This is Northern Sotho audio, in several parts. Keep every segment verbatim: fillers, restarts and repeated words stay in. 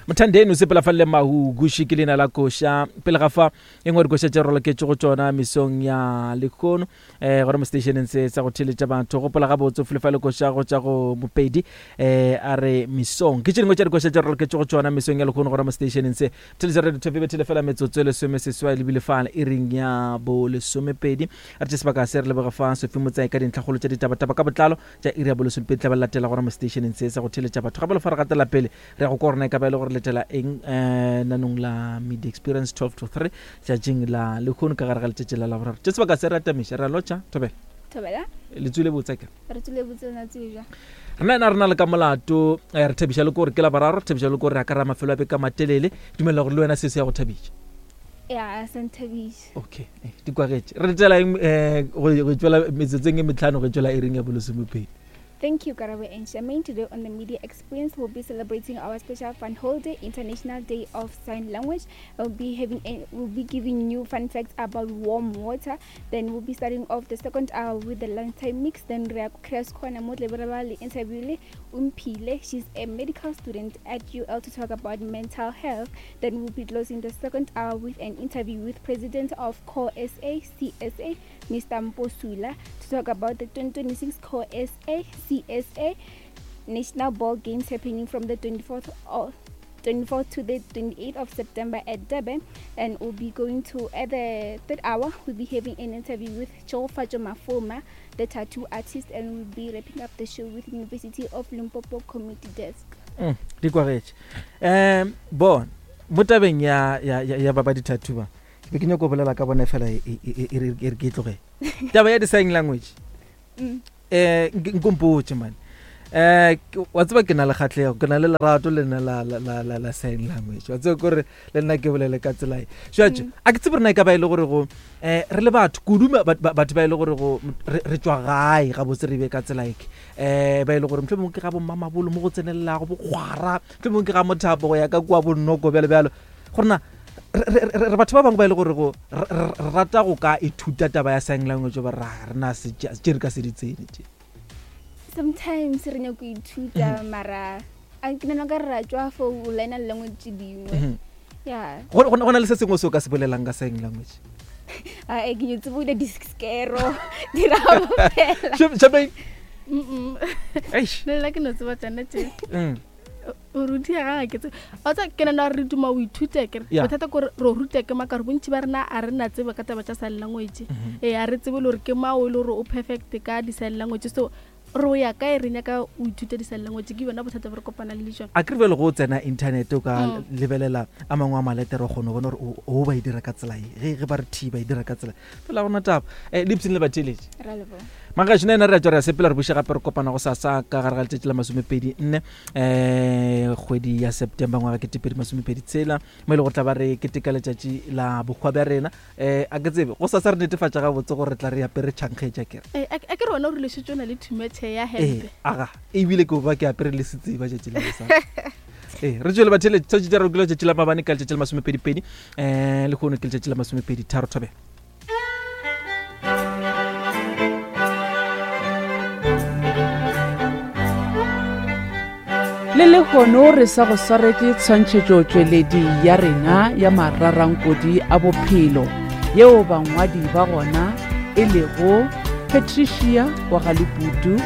Mothandeni o sepela fa le mahuguši ke leina la koša. Pele ga fa e nngwe dikoša tše roloketše go tšona mesong ya lehono um gore mo stationeng se sa go theletša batho. Gopola gabotse o file fa le koša go tša go Mopedi um a re mesong. Ke tše dingwe tša dikoša tše roloketše go tšona mesong ya lehono gore mo stationeng se theletša radio Thobela bethele fela metsotso e lesome seswai lebile fale iring ya bo lesomepedi. Re tše sebaka se re leboga fa Sophie Motsai ka dintlhakgolo tša ditabataba ka botlalo tša iri ya bo lesomepedi tla ba latela gore mo stationeng se sa go theletša batho. Gape le fa re gatela pele re ya go kwa gorena e ka ba e le gore letela eng um nanong la Media Experience twelve to three tšatšing la lehono ka gare ga letšatši la Laboraro. Tše sebaka se re atamiša re a lotša. Thobela. Thobela. Le tswile botse ke? Re tswile botse na tswile. Rena ena re na le ka molato re thabiša le gore ke Laboraro, re thabiša le gore re akara mafelo a beke a matelele. Dumela gore le wena se se ya go thabiša. Ya, se nthabiša. Okay, di kwagetše. Re letela eng eh go tšwela metsotsong e metlhano go tšwela iring ya bolesomepedi. Thank you, Karabo and Charmaine. Today on the Media Experience, we'll be celebrating our special fun holiday, International Day of Sign Language. We'll be having a, we'll be giving you fun facts about warm water. Then we'll be starting off the second hour with the lunchtime mix. Then we Chris Corner Motlebelebale interview le Umphile. She's a medical student at U L to talk about mental health. Then we'll be closing the second hour with an interview with President of Core S A C S A, Mister Mposula, to talk about the twenty twenty-six Core S A C S A National Ball Games happening from the twenty-fourth of twenty-fourth to the twenty-eighth of September at Durban. And we'll be going to, at the third hour, we'll be having an interview with Tshegofatso Mafoma, the tattoo artist, and we'll be wrapping up the show with University of Limpopo Community Desk. Mm, di kwagetše. Um, bon, mo tabeng ya ya ya ba ba di-tattoo ba, ke be ke nyako bolela ka bona fela e e e re ke tloge. Taba ya di-sign language. Mm. Eh nkompotše man. Eh wa tseba ke na le kgatlego, ke na le lerato le nna la la la la sign language. Wa tseba gore le nna ke bolele ka tsela e. Jwale a ke tsebe rena e ka ba ile gore go eh re le batho kudu batho ba ile gore go re tswa gae ga botse re be ka tsela e. Eh ba ile gore mhlomong ke ga bo mmamabolo mo go tsenelelago bo kgwara, mhlomong ke ga mothapo go ya ka kwa bonnoko bjalo bjalo. Gore na re batho ba bangwe ba ile gore go re rata go ka ithuta taba ya sign language ba ra rena se tše re ka se di tsene tše. Sometimes re nyako ithuta mara a ke nna ka re ra tswa fo o learn language tše dingwe. Yeah. Go go na le se sengwe se o ka se bolelang ka sign language? A e ke tsebo di diskero di ra fela. Shabeng. Mm. Eish. Le nna ke no tseba tsena tše. Mm. O rutia ga ke tse. O tsa ke nna re duma o ithute ke re. Bothata ke re re rute ke maka re bontši ba rena a re na tsebe ka taba tša sign language. Eh a re tsebe le gore ke mang o le gore o perfect ka di sign language, so re ya kae re nyaka o ithute di sign language ke yona bothata bo re kopana le jona. A ke re bjale go tsena internet o ka lebelela a mangwe a maletere o kgone go bona gore o ba e dira ka tsela e, ge ge ba re T ba e dira ka tsela fela gona taba. Eh Lipson le batheletše. Ra leboga. Magaši nna re a tswa re a sepela re buše gape re kopana go sasa ka gare ga letšatši la masomepedi nne eh kgwedi ya September ngwaga ketepedi masomepedi tshela mo e le go tla ba re keteka letšatši la bohwa bja rena. Eh a ke tsebe go sasa re netefatša gabotse gore re tla re apere tšhankgetša kere. Eh a ke re wena o rile šetše o na le thumetšhe ya hempe. Eh aga ebile ke ba ke apere le setseba tšatši la gosasa. Eh re tswele batheletši tšatši tša re kile letšatši la mabane ka letšatši la masomepedi pedi eh lehono ke letšatši la masomepedi tharo. Thobela. Le lehono re sa go swaretše tshwantšhetšotšweledi ya rena ya mararankodi a bophelo yeo bangwadi ba gona e lego Patricia wa ga Leputu,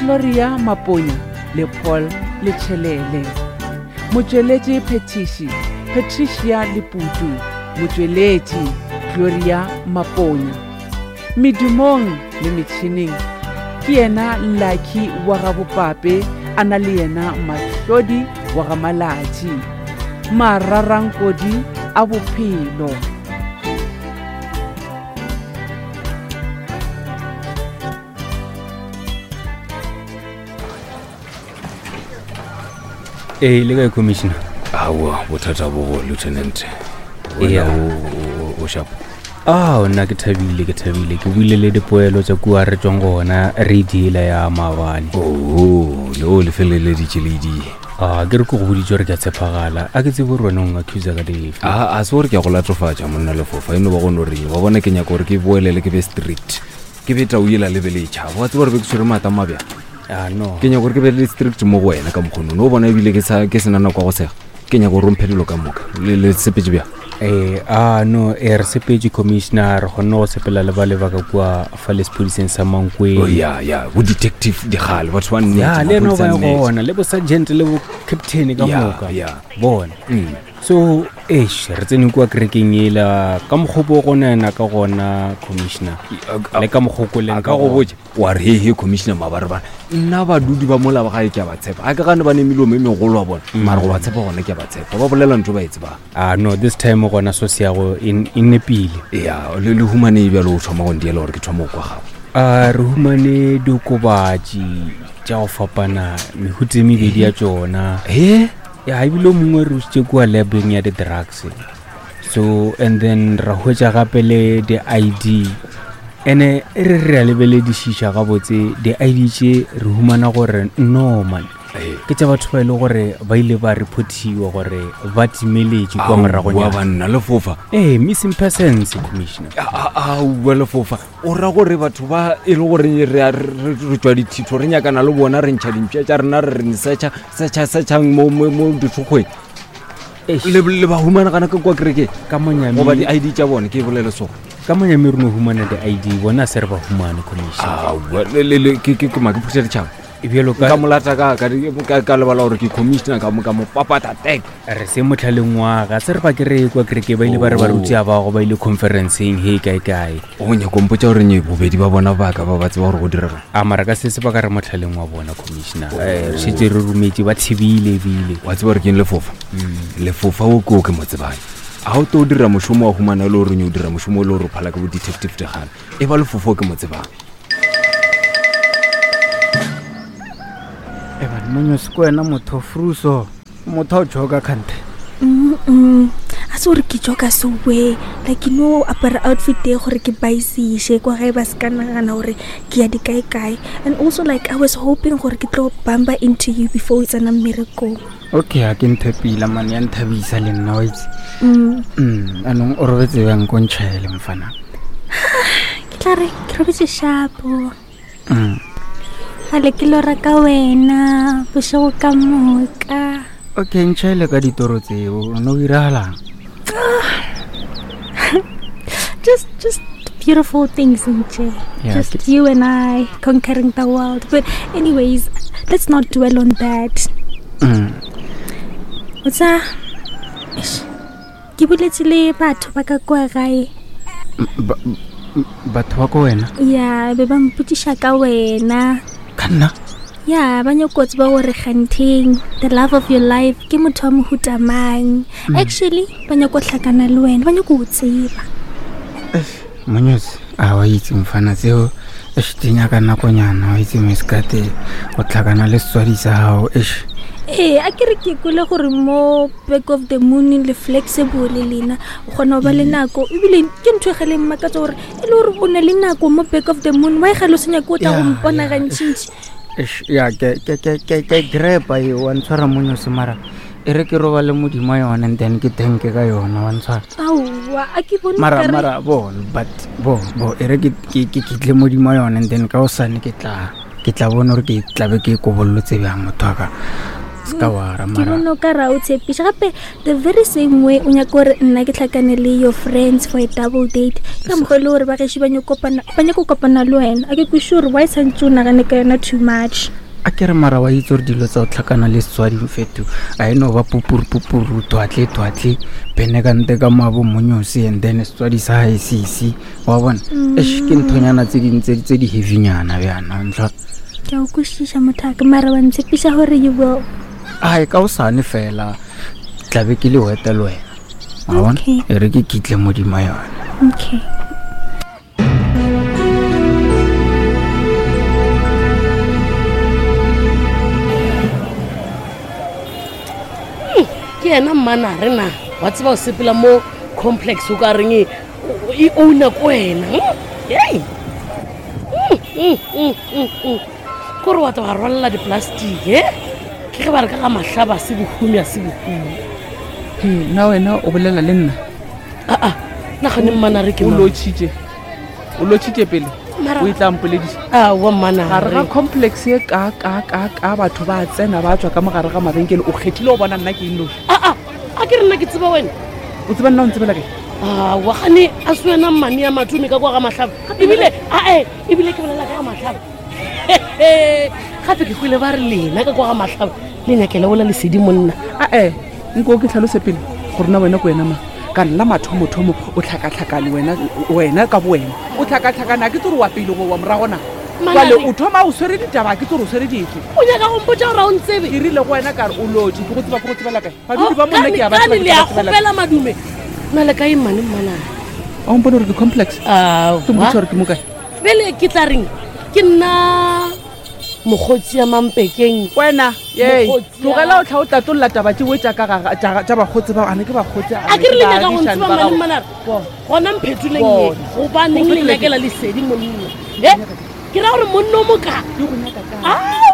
Gloria Maponya le Paul Letšhelele. Motšweletši phetiši Patricia Leputu, motšweletši Gloria Maponya. Medumong le metšhineng ke yena Lucky wa ga Bopape, a na le yena Mahlodi wa ga Malatši. Mararankodi a bophelo. Ee, le kae commissioner? Aowa, bothata bo go lieutenant. Wena o o sharp. Ah, nna ke thabile, ke thabile. Ke buile le dipoelo tša kua re tswang gona re deala ya maabane. Oh, le o le feleleditše le di. Ah, ke re ke go boditše gore ke a tshepagala. A ke tsebe gore wena o ngaccuse ka dife. Ah, a se gore ke a go latofatša monna lefofa, e no ba go no reng. Wa bona ke nyaka gore ke boelele ke be strict. Ke be tau yela le be le tšhaba. Wa tseba gore be ke tshwere maata a mabjang. Ah, no. Ke nyaka gore ke be le strict mo go wena ka mokgono. No bona ebile ke sa ke sena nako ya go sega. Ke nyaka gore o mphe dilo ka moka. Le le sepetse bjang? Eh, ah no, eh, re sepetse commissioner, re kgonne go sepela le ba le ba ka kua fa le sepodiseng sa Mankweng. Oh ya ya, bo detective digale, batho ba nnete. Ya, le ena maphodisa ba a nnete. gona, le bo sergeant le bo captain ka Ya, moka. ya. Bona. Mm. So, eish, re tsene kua kerekeng ela ka mokgopo go nena ka gona commissioner. Le ka mokgo ko leng A ka go botša wa re he he commissioner mabarebare nna badudi ba mola ba gae ke a ba tshepa a ke gane ba ne melomo e megolo wa bona mara go ba tshepa gona ke a ba tshepa ba bolela ntho ba e tsebang. Ah no, this time gona so se ya go e e nepile. Ya, le le humane bjalo o thoma go ndiela gore ke thoma go kwa gago. A re humane diokobatši tša go fapana mehuta e mebedi ya tšona. He? Ya, ebile o mongwe re usitše kua labeng ya di-drugs. So and then ra hwetša gape le di-I D. Ene e re re a lebeledišiša gabotse di-I D tše re humana gore no man, Ee. ke tša batho ba e le gore ba ile ba reportiwa gore ba timeletše kua Aowa, moragonyana. banna lefofa. Ee, missing persons commissioner. Aowa lefofa, o ra gore batho ba e le gore re a- re re tswa dithitho re nyakana le bona re ntšha dimpša tša rena re re searcha searcha searchang mo mo mo dithokgweng. Eish. Le le ba humana gana ka kwa kerekeng? Ka monyami. Goba di-I D tša bona ke bolele so. Ka monyami re no humana di-I D, bona se re ba humane commissioner. Aowa, le le le ke ke ke ma ke phutha ditšhaba. Bjalo ka Nka molata ka ka ka ka lebala gore ke commissioner ka mo ka mo papata tek. Re se motlhaleng wa ga se re ba kere kwa kereke ba ile ba re Oh. baruti a bago ba ile conferenceng he kae kae. O nyaka o mpotša gore nye bobedi ba bona ba ka ba ba tseba gore go direga. A mara ka se se ba ka re motlhaleng wa bona commissioner. Eh, re šetše re rometše ba thibile ebile. Wa tseba gore ke eng lefofa? Lefofa o ke o ke mo tsebang. A o tlo dira mošomo wa humana e le gore nye o dira mošomo o le gore o phala ke bo detective digale. E ba lefofa o ke mo tsebang. E bana, Monyosi ke wena motho fruso. Motho o joka kgante. Mm-mm. A se gore ke joka so we. Like, you know, apara outfit e gore ke baisiše kwa gae ba se ka nagana gore ke ya dikae-kae. And also, like, I was hoping gore ke tlo bumper into you before o tsena mmerekong. Okay, ha ke ntho e pila man, ya nthabisa le nna wa itse. Mm. Mm, anong o robetse bjang ko ntšhaele mfana? Ke tla re ke robetse shapo. Mm. Gale ke lora ka wena bošego ka moka. Okay, ntšhaele ka ditoro tseo, o no diragalang? Just, just beautiful things, nje. Yeah, Just ke- you and I conquering the world. But anyways, let's not dwell on that. Mm. O tsa, eish, ke boletse le batho ba ka kwa gae. Ba-, batho ba ko wena? Ya, be ba mpotšiša ka wena. Ka nna? Ya, ba nyako tseba gore kgantheng the love of your life ke motho wa mohuta mang. Mm. Actually, ba nyako hlakana le wena, ba nyako o tseba. Monyosi, a wa itse mfana tseo, eish, di nyaka nakonyana, wa itse meskate, go tlhakana le setswadi sa gago, eish. Ee, a ke re ke kwele gore mo back of the moon le flexible lena, o kgona go ba le nako, ebile ke ntho e gale mmakatsa gore e le gore o na le nako mo back of the moon, why gale o se nyake o tla go Ya, mpona ya, gantšintši? Eish, ya, ke, ke, ke, ke, ke grepa e, wa ntshwara Monyosi, mara e re ke robale modimo yone and then ke thanke ka yona, wa ntshwara. Aowa, a ke bone Mara, okare- mara, bo, but, bo, bo, e re ke, ke, ke kitle modimo yone and then ka hosane ke tla, ke tla bona gore ke tlabe ke kobollotse bjang motho wa ka. Se ka wara, Ke mara. bone o ka ra o tshepiša gape the very same way o nyaka gore nna ke tlhakane le your friends for a double date ka mokgwa e le gore ba gešo ba nyako kopana, ba nyako kopana le wena. A ke kwešiše gore why santse o nagane ka yona too much. A ke re mara wa itse gore dilo tsa go tlhakana le setswadi mfeto a e no ba pupuru pupuru twatle twatle bene ka nte ka moabo Monyosi and then setswadi sa gae sese wa bona. Eish, ke nthonyana tse ding tse tse di heavynyana bjana ntlha. Ke a o kwešiša mothaka, mara wa ntshepiša gore you will. Ai, ka hosane fela tlabe ke le wete le wena wa bona. Okay. E re ke kitle modimo yona. Okay. Ke yena mmana re na wa tseba o sepela mo complex o ka reng e, e owner ko wena. Hmm? Hei. Hmm, hmm, hmm, hmm, hmm. Kore wa tla wa rwalela di-plastic, eh? Ke ge ba re ka ga mahlaba se bohumi a se bohumi. He, nna wena o bolela le nna? Aa, nna gane mmana re ke O mang? lotšhitše. O lotšhitše pele. Mara- O e tla mpolediša. Aowa, mmana Gare ga re. complex ye ka, ka, ka, ka batho ba tsena ba tswa ka mogare ga mabenkele, o kgethile go bona nna ke eng noši? Aa, A ke re nna ke tseba wena. O tseba nna o ntsebela kae? Aowa gane a se wena mmane ya matome ka kwa ga Mahlaba. Ebile ae ebile ke bolela ka ga Mahlaba. Gape ke kwele ba re lena ka kwa ga Mahlaba le nyakela ola lesedi monna. Ae nko ke tlhalose pele gore na wena ko wena mang. Ka nna mathomothomo o tlhakatlhakane wena wena ka bo wena. O tlhakatlhakana ke tsore wa pele go wa moragona. Jwale o thoma o swere ditaba ke tsore o swere dife. O nyaka go mpotša gore a o ntsebe? Ke rile go wena ka re o lotše ke go tseba ke go tsebela kae. Badudi ba monna ke a ba tseba. Le a kgopela madume. Na le kae mmane mmanare? A o mpone gore ke complex? Aowa. Ke mpotše gore ke mo kae? Bjale ke tla reng? Ke nna mokgotsi ya Mampekeng. Wena, yei, tlogela o tlha o tatolla taba tšeo tša ka ga tša bakgotsi bao, ane ke bakgotsi. A ke re le nyaka go ntseba mmane mmanare? Gona mphetoleng ye, gobaneng le nyakela lesedi monna? E ke ra gore monna o moka. Ke go nyaka kae?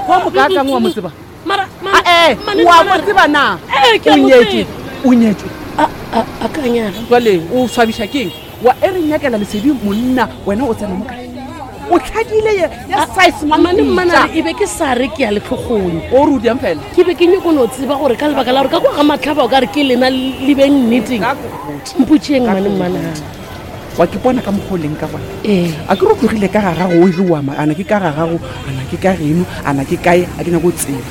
Wa mokaakang wa mo tseba? Mara Ae, wa mo tseba na? Ee, ke a mo O nyetšwe, tseba. o nyetšwe. A, a, a ka nyala. Jwale o swabiša keng? Wa e re nyakela lesedi monna, wena o tsena mo kae? O tlhadile ye ya size Mmane mmanare e be ke sa re ke ya letlhogong. O re o diang fela? Ke be ke nyako no tseba gore ka lebaka la gore ka kwa ga Mahlaba o ka re ke lena le beng nneteng. Mpotšeng mmane mmanare. Wa ke bona ka mokgwa o leng ka gona. Ee. A ke re o tlogile ka ga gago o ire wa ma, ana ke ka ga gago, ana ke ka geno, ana ke kae, a ke nyako o tseba.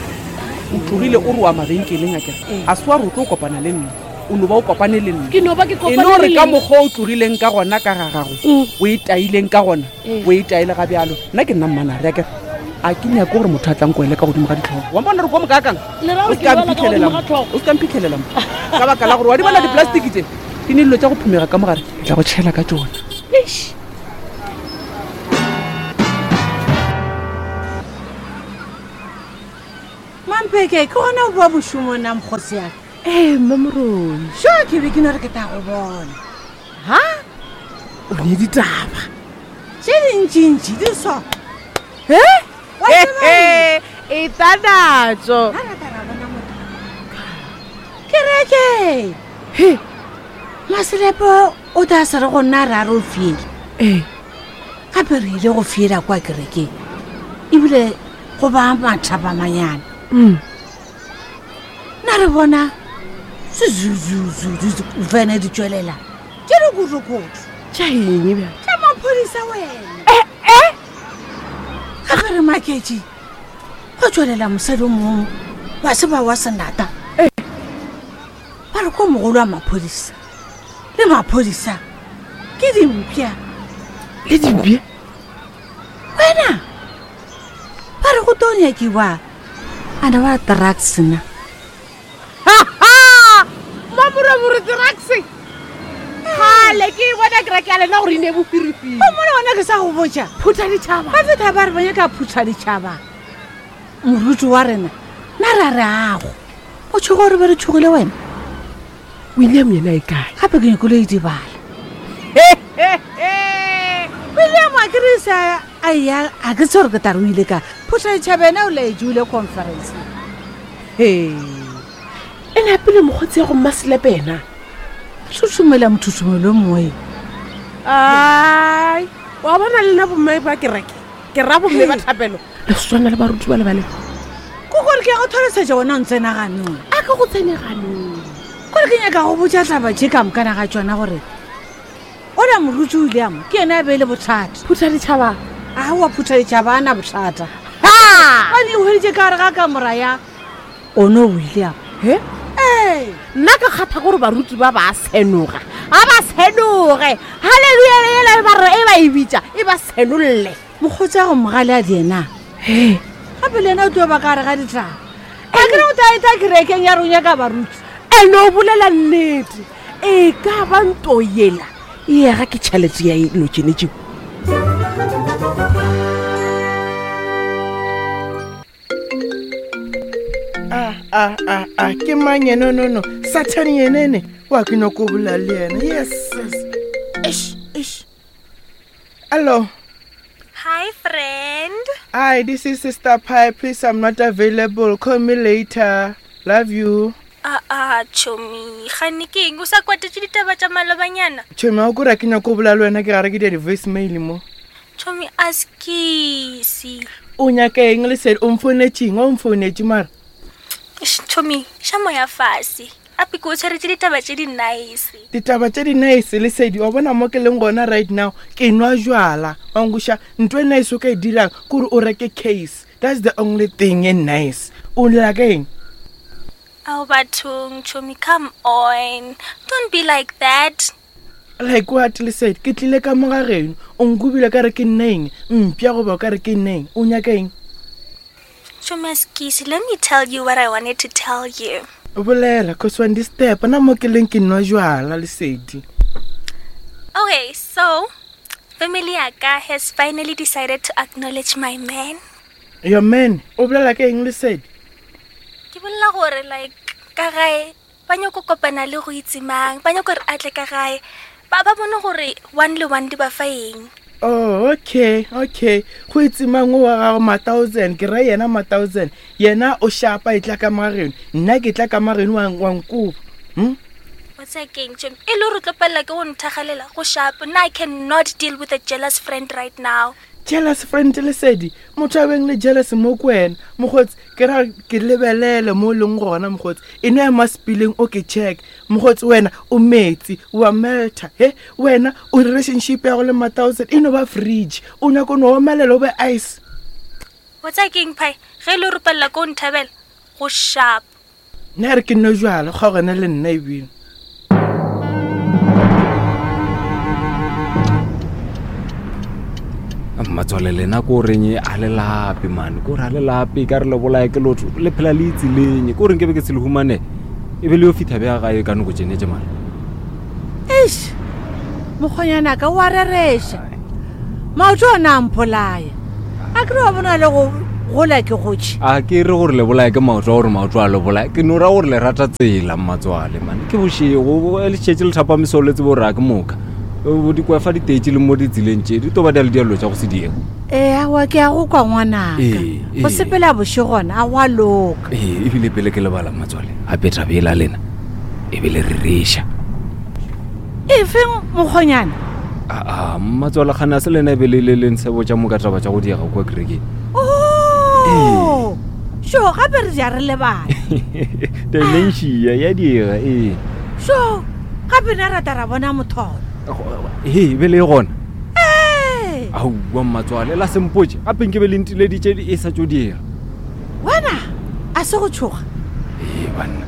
O tlogile o re wa mabenkeleng a kere. Ee. A se wa re o tlo kopana le nna. O no ba o kopane le nna. Ke no ba ke E kopane no re le ka lena. mokgwa o tlogileng ka gona ka ga gago, Mm. o e taileng ka gona, Ee. o e taile ga bjalo. Nna ke nna mmanare a kere. A ke nyake gore motho a tlang kwele ka godimo ga ditlhogo. Wa mpona re ko mokaakang? Le ra O gore se ke ka lwala ka mphitlhelela godimo ga mo. tlhogo. O se ka mphitlhelela mo. Ka baka la gore wa di bona di-plastic tše, ke ne dilo tša go phumega ka mogare, ke tla go tšhela ka tšona. Eish. Mampeke, ke gona o boa mošomong na mokgotsi ya ka? Ee, mme Moroi. Sho, ke be ke no re ke tla go bona. Ha? O ne ditaba. Tše dintšintši di so. He? Wa tseba eng? E tla natso. Ha re tla ra bona motho. Kereke. He. Maselepo o tla se re go nna ra re o fiele. Ee. Gape re ile go fiela kwa kerekeng. Ebile go ba mathapamanyana. Mm. Na re bona sezuzuzuzu vene di tšwelela tše dikotokoto. Tša eng bjale? Tša maphodisa wena. Eh, eh. Gape re maketše go tšwelela mosadi o mongwe wa seba wa senata. Eh. Ba re ko mogolo wa maphodisa le maphodisa ke dimpša. Le dimpša? Wena ba re go tlo nyakiwa ana ba drugs na. Mamoromoro drugs. Kgale ke e bona kereke ya lena gore e ne bofirifiri. O mona gona ke sa go botša. Phutha ditšhaba. Ba feta ba re ba nyaka phutha ditšhaba. Moruti wa rena na ra re ago. O tšhoga gore be re tšhogile wena? William yena e kae? Gape ke nyakile e dibala. William a ke re sa a ya a ke tsebe gore ke tla re o ile kae. Phutha ditšhaba ena o laetše o ile conference. He. E napile mokgotsi ya go Mmaselepe yena. Thuthumela mothuthumelo o mongwe. Ai, wa bona le nna bomme ba kereke. Ke ra bomme ba thapelo. Le swana le baruti ba le ba le. Ke gore ke ya go tlhalosetša wena o ntsena ganong. A ke go tsene ganong. Kore ke nyaka go botša taba tše ka mokana ga tšona gore ola moruti William ke yena a beile bothata. Phutha ditšhaba. Aowa, phutha ditšhaba a na bothata. Ha! Ba ne hweditše ka gare ga kamora ya ono William. He? Ee. Nna ke kgatha gore baruti ba ba senoga. A ba senoge. Haleluya ela e ba re e ba e bitša, e ba senolle. Mokgotsi a go mogale a di ena. He. Gape le yena o tlo ba ka gare ga ditaba. A ke re o tla eta kerekeng ya rona ka baruti. Ene o bolela nnete. E ka ba nto yela. E ya ga ke tšhelete ya dilo tšene tšeo. Ah, ah, ah, ah, ke mang yena no no Satan yenene wa ke nyako bolela le yena. Yes, yes. Eish, eish. Hello. Hi, friend. Hi, this is Sister Pie. Please, I'm not available. Call me later. Love you. Ah, ah, chomi. Gane ke eng o sa kwatetše ditaba tša malobanyana? Chomi, a o kore ke nyako bolela le wena ke gare ke dia di-voice mail mo. Chomi, a skisi. O nyaka eng lesedi? O mfounetše eng? O mfounetše mara? Eish, Chomi, xa moya fase. Ape ke o tshwaretse ditaba tše di nice. Ditaba tše di nice Lesedi, wa bona mo ke leng gona right now, ke nwa jwala. Wa nkweša, ntho e nice o ka e dirang ke gore o reke case. That's the only thing e nice. O lla ka eng? Ao bathong, chomi, come on. Don't be like that. Like what, Lesedi? Ke tlile ka mo ga geno, o nkobile ka re ke nna eng? Mpša goba o ka re ke nna eng? O nyaka eng? Chomi Askisi, let me tell you what I wanted to tell you. Bolela, cause when this step, na mo ke leng ke nwa jwala, Lesedi. Okay, so family ya ka has finally decided to acknowledge my man. Your man? O bolela ka eng, Lesedi? Ke bolela gore like ka gae ba nyako kopana le go itse mang, ba nyako re a tle ka gae, ba ba bone gore one le one di ba fa eng. Oh, okay, okay. Go itse mang o wa gago ma thousand, ke ra yena ma thousand. Yena o shapa e tla ka mageno, nna ke tla ka mageno wa, wa nkoba. Hm? O tsaya keng, Chomi? E le gore o tlo palela ke go nthagalela go shapa. Nna I cannot deal with a jealous friend right now. Jealous friend, Lesedi? Motho a beng le jealous mo ko wena. Mokgotsi, ke ra ke lebelele mo o leng gona, mokgotsi. E no ema spileng o ke check. Mokgotsi, wena o metsi, wa melta. He, wena o relationship ya go le ma thousand e no ba fridge. O nyaka no omelela o be ice. O tsaya keng, Phai? Ge e le gore o palela ke go nthabela, go sharp. Nna re ke nno jwala, kgaogane le nna ebile. Mmatswale lena ko reng a le lape man, ko re a le lape ka re le bolae ke lotho, le phela le itseleng, ko reng ke be ke se le humane, e be le yo fitha bja gae ka nako tšene tše man. Eish, mokgonyana ka wa rereša. Maoto ona a mpolaya. A ke re wa bona le go gola ke gotše. A ke re gore le bolae ke maoto a gore maoto a le bolae, ke no ra gore le rata tsela mmatswale man. Ke bošego, le šetše le thapa mesolo le tsebe gore a ke moka. Bo di kwa fa ditetše le mo ditseleng tše, di tlo ba di a le diallo tša go se diega. Ee, aowa, ke a go kwa ngwanaka. Ee, Go ee. sepela bošego gona, a go a loka. Ee, ebile pele ke lebala mmatswale, gape taba ela lena, ebile re reša. Efeng mokgonyana? Aa, mmatswale kgane a se lena ebe le le le nsebotša mo ka taba tša go diega kua kerekeng. Oh! Sho, gape re ja re lebala. Dementia ya diega, ee. Sho, gape na rata ra bona motholo. He, be le gona. Ee. Aowa mmatswale, la sempotše, gape nke be le ntileditše e sa tšo diega. Wena, a se go tšhoga? Ee, banna.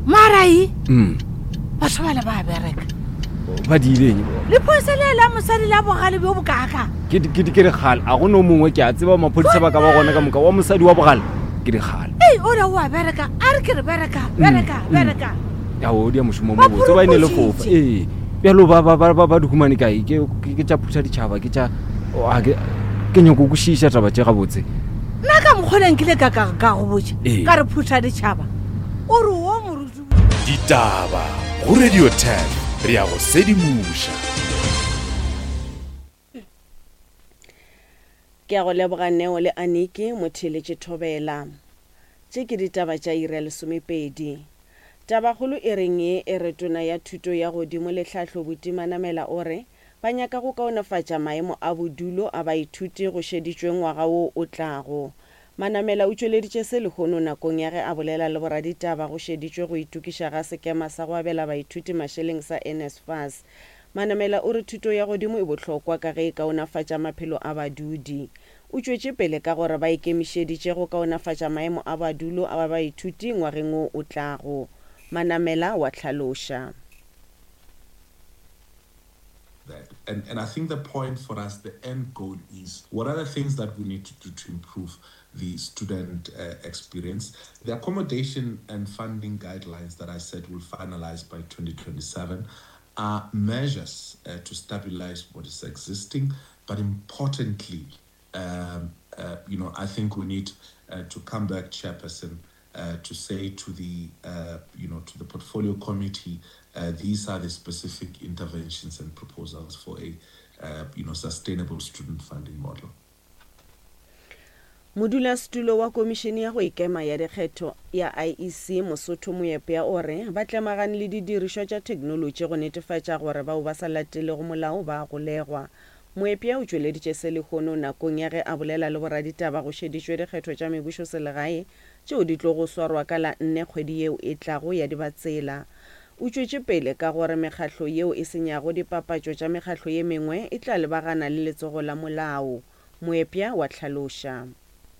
Marai? Mm. Batho ba le ba bereka. Ba diileng? Lephodisa le la mosadi la bogale bjo bokaka. Ke di-, ke di-, ke dikgale, a go no mongwe ke a tseba maphodisa ba ka ba gona ka moka, wa mosadi wa bogale, ke dikgale. Ei, o re o a bereka, a re ke re bereka, Mm, bereka, mm. bereka. Ya, o dia mošomo Ba mo botse, ba e ne le phuruphušitše. fofa. Ee. Bjalo ba, ba, ba, ba, ba di humane kae? Ke, ke, ke tša phutha ditšhaba, ke tša, o, a ke, ke nyako kwešiša taba tše gabotse. Nna ka mokgwa o nkile ka, ka, ka go botša, Ee. ka re phutha ditšhaba. O re wo moruti. Ditaba go Radio ten, re ya go sedimoša. Ke a go leboga Neo le Aniki, motheeletši Thobela. Tše ke ditaba tša iri ya lesomepedi. Tabakgolo e reng ye e re tona ya thuto ya godimo le tlhahlo Buti Manamela o re ba nyaka go kaonefatša maemo a bodulo a baithuti go šeditšwe ngwaga wo o tlago. Manamela o tšweleditše se lehono nakong ya ge a bolela le boraditaba go šeditšwe go itokiša ga sekema sa go abela baithuti mašeleng sa N S F A S. Manamela o re thuto ya godimo e bohlokwa ka ge e kaonafatša maphelo a badudi. O tšwetše pele ka gore ba ikemišeditše go kaonafatša maemo a badulo a baithuti ngwageng wo o tlago. Manamela wa hlaloša. That. And, and I think the point for us, the end goal is, what are the things that we need to do to improve the student, uh, experience? The accommodation and funding guidelines that I said will finalize by twenty twenty-seven are measures, uh, to stabilize what is existing, but importantly, um, uh, you know, I think we need, uh, to come back, Chairperson, uh, to say to the, uh, you know, to the portfolio committee, uh, these are the specific interventions and proposals for a, uh, you know, sustainable student funding model. Modulasetulo wa Komišene ya go Ikema ya Dikgetho ya I E C Mosotho Moepya o re ba tlemagane le didirišwa tša theknolotši go netefatša gore bao ba sa latelego molao ba golegwa. Moepya o tšweleditše se lehono nakong ya ge a bolela le boraditaba go šeditšwe dikgetho tša mebušo selegae tšeo di tlogo swarwa ka la nne kgwedi yeo e tlago ya Dibatsela. O tšwetše pele ka gore mekgahlo yeo e senyago dipapatšo tša mekgahlo ye mengwe e tla lebagana le letsogo la molao. Moepya wa hlaloša.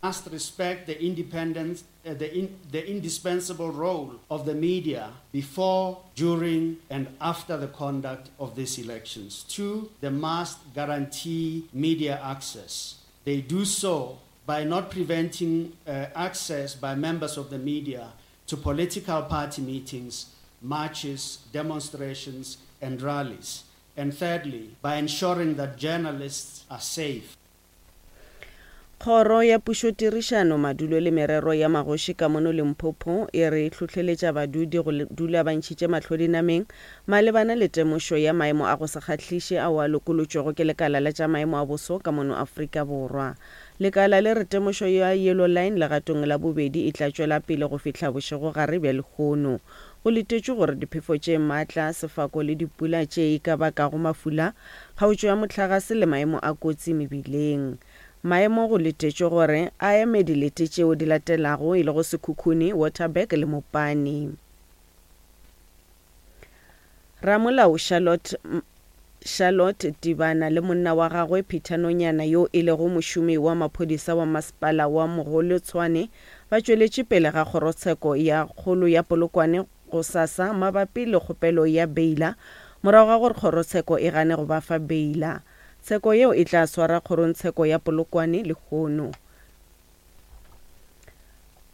Must respect the independence, uh, the, in, the indispensable role of the media before, during, and after the conduct of these elections. Two, they must guarantee media access. They do so by not preventing uh, access by members of the media to political party meetings, marches, demonstrations, and rallies. And thirdly, by ensuring that journalists are safe. Kgoro ya Pušotirišano, Madulo le Merero ya Magoši ka mono Limpopo e re hlohleletša badudi go dula ba ntšhitše mahlo dinameng malebana le temošo ya maemo a go se kgahliše ao a lokolotšwego ke lekala la tša maemo a boso ka mono Afrika Borwa. Lekala le re temošo ya Yellow Line legatong la bobedi e tla tšwela pele go fihla bošegogare bja lehono. Go letetšwe gore diphefo tše matla, sefako le dipula tše e ka bakago mafula, kgaotšo ya mohlagase le maemo a kotsi mebileng. Maemo go letetšwe gore a eme dilete tšeo di latelago e lego Sekhukhune, Waterberg le Mopani. Ramolao Charlotte Charlotte Tibana le monna wa gagwe Peter Nonyana yo e lego mošomi wa maphodisa wa masepala wa Mogolo Tshwane ba tšweletše pele ga kgorotsheko ya kgolo ya Polokwane gosasa mabapi le kgopelo ya beila morago ga gore kgorotsheko e gane go ba fa beila. Tsheko yeo e tla swara kgorongtsheko ya Polokwane lehono.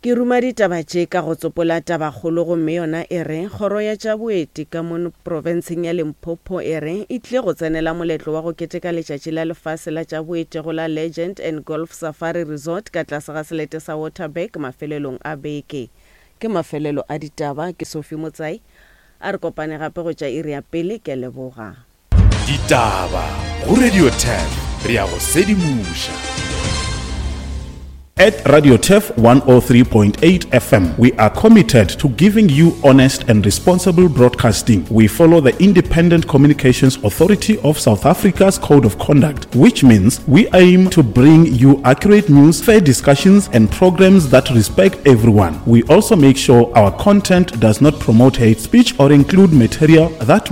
Ke ruma ditaba tše ka go tsopola tabakgolo gomme yona e re kgoro ya tša boeti ka mono profenseng ya Limpopo e re e tlile go tsenela moletlo wa go keteka letšatši la lefase la tša boeti go la Legend and Golf Safari Resort ka tlase ga selete sa Waterberg mafelelong a beke. Ke mafelelo a ditaba, ke Sophie Motsai. A re kopane gape go tša iri ya pele, ke a leboga. Ditaba go Radio Turf, re a go sedimoša. At Radio Turf one oh three point eight F M, we are committed to giving you honest and responsible broadcasting. We follow the Independent Communications Authority of South Africa's Code of Conduct, which means we aim to bring you accurate news, fair discussions, and programs that respect everyone. We also make sure our content does not promote hate speech or include material that